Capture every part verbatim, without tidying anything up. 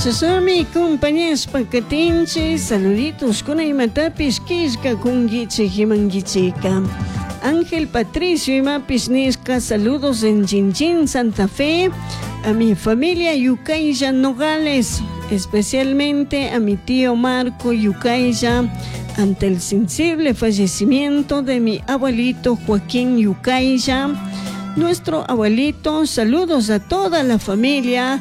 Chashnami compañashpa katinchik saluditos kuna imatapish killkakunkichik imankichika. Ángel Patricio imapish nishka saludos en Chinchín, Santa Fe, a mi familia Yucaya Nogales, especialmente a mi tío Marco Yucaya, ante el sensible fallecimiento de mi abuelito Joaquín Yucaya. Nuestro abuelito, saludos a toda la familia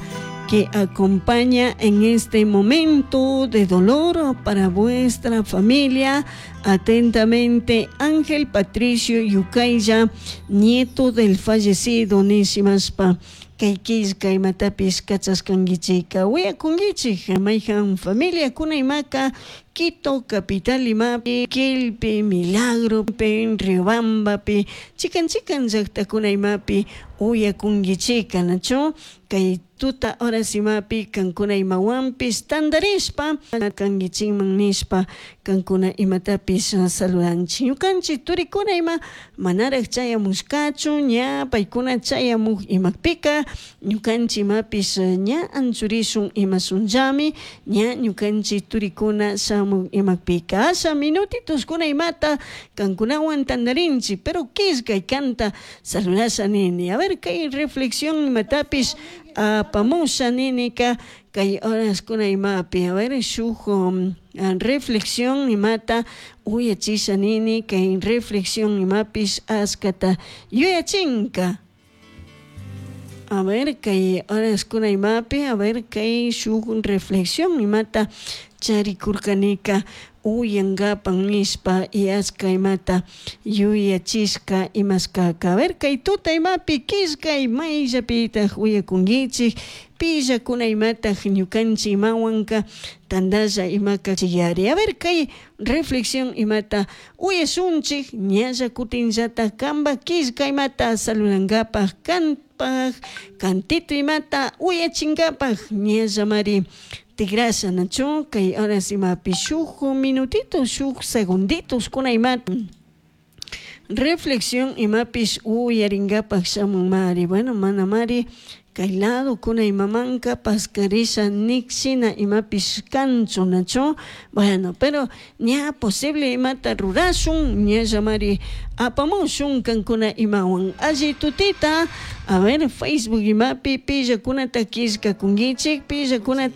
que acompaña en este momento de dolor para vuestra familia. Atentamente, Ángel Patricio Yucaya, nieto del fallecido nishimashpa. Kay killka imatapish kachashkankichika wiyakunkichik mayjan familiakuna imaka Quito capital imapi Quilpi Milagropi Riobambapi chikan chikan llaktakuna imapi uyakunkichika nachu kay tuta horas imapi kankuna imawanpish tantarishpa kankichikman nishpa kankuna imatapish saludanchik ñukanchik turikuna ima manarak chayamushkachu ña paykuna chayamuk imakpika ñukanchik imapish ña anchurishun imashunllami ña ñukanchik turikuna shamuk imakpika asha minutituskuna imata kankunawan tantarinchik pero killkay kanta saludasha nini a ver kay reflexión imatapish apamusha ninika kay horaskuna imapi a ver shuk um, reflexión imata uyachisha nini kay reflexión imapish ashkata yuyachinka. A ver kay horaskuna imapi a ver kay shuk reflexión imata charikurkanika uyankapan nishpa y ashka imata yuyachishka imashkaka a ver kay tuta imapi killkay mayllapitak uyakunkichik pillakuna imatak ñukanchik imawanka tantalla imaka chiyari a ver kay reflexión imata uyashunchik ñalla kutinllatak kanpak killka imata saludankapak kanpak kantito imata uyachinkapak ñallamari tigrasha nachu kay horas imapi shuk minutito shuk segunditos kuna imata reflexión imapish uyarinkapak shamunmari bueno manamari kay lado kuna imamanka paskarisha nikshina imapish kanchu nachu bueno pero ña posible imata rurashun ñallamari apamushun kankuna imawan alli tutita a ver Facebook imapi pillakunata killkakunkichik pillakunata.